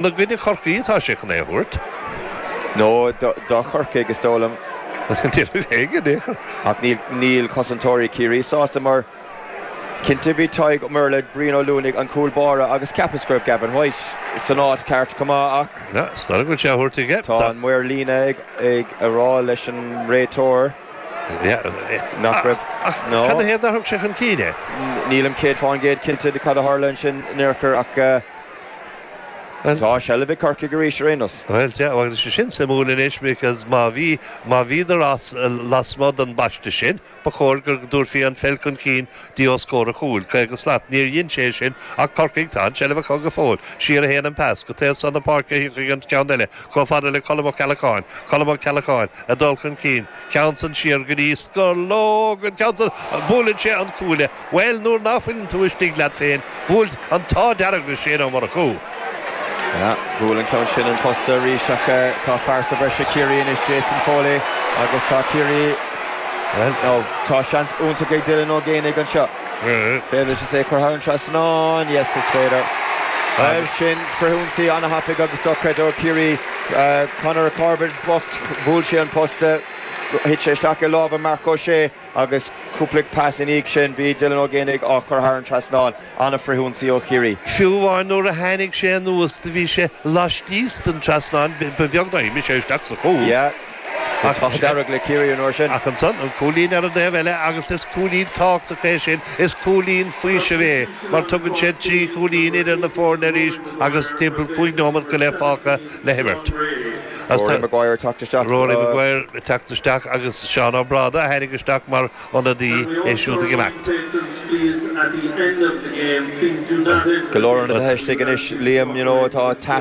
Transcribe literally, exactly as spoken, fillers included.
I gcoinne Chorcaí atá sé chun é a thabhairt. Nó do Chorcaigh, is dóigh liom. Ach níl cosantóirí Chiarraí sásta, mar cinnte bhí Tadhg Ó Murlaigh, Brian Ó Luanaigh, an cúl báire, agus cheapas go raibh Gavin White san áit ceart chomh maith, ach Is dóigh go bhfuil sé á thabhairt aige. Tá an maor líne ag a rá leis an réiteoir nach raibh. Ach cad ina thaobh nár thug sé chun cinn é? Nílim céad fán gcéad cinnte de cad a tharla ansin in aon chor, ach tá seilbh ag Corcaigh arís ar aon nós. Bhuel, yeah, agus sé sin suimiúil anois, because má bhí má bhíodar as lasmuigh den bpaiste sin, ba chóir go dtabharfaí an pheil chun cinn dtí os comhair an chúil, caoga slat. Níor dhein sé sin, ach Corcaigh, tá an tseilbh acu go fóill. Siar a théann an pas go taobh san na páirce a thiocfaidh an ceann eile, chomh fada le Colm Ó Ceallacháin. Colm Ó Ceallacháin ag dul chun cinn, ceann san siar go dtí Scológ, an ceann san, buaileann sé an cuaille. Bhuel, nuair ná fuileann tú istigh leat féin, bhuail an t-ádh dearg le Shane Ó Murchú. Bhuail an ceann sin an posta arís, ach tá fear sa bhreis ag Ciarraí anois, Jason Foley, agus tá Ciarraí, nó tá seans iontach ag Dylan Ó Géibheannaigh anseo. Féidir leis é a chur thar an trasnán? Yes, is féidir. Bhuel, sin frithionsaí an-thapaidh agus dochreidte ó Chiarraí. Conor Corbett bocht, bhuail sé an posta, thit sé isteach i lámha Marc Ó Sé agus cúpla pas ina dhiaidh sin bhí Dylan Ó Géibheannaigh á chur thar an trasnán. An-fhrithionsaí ó Chiarraí. Fiú amháin nuair a tháinig sé anuas do bhí sé laistíos den trasnán, ba bheag nár imigh sé isteach sa chúl. Yeah. An t-ádh dearg le Ciarraí an uair sin. Ach ansan, an cúilín ar an dtaobh eile, agus is cúilín tábhachtach é sin, is cúilín faoisimh é, mar tugann sé trí chúilín idir na foirne arís agus timpeall cúig nóiméad go leith fágtha le himirt. Rory Maguire ag teacht isteach. Rory Maguire ag teacht isteach agus Seán Ó Bráda a tháinig isteach mar ionadaí, é siúd ag imeacht. Go leor ionadaithe istigh anois, Liam, you know, atá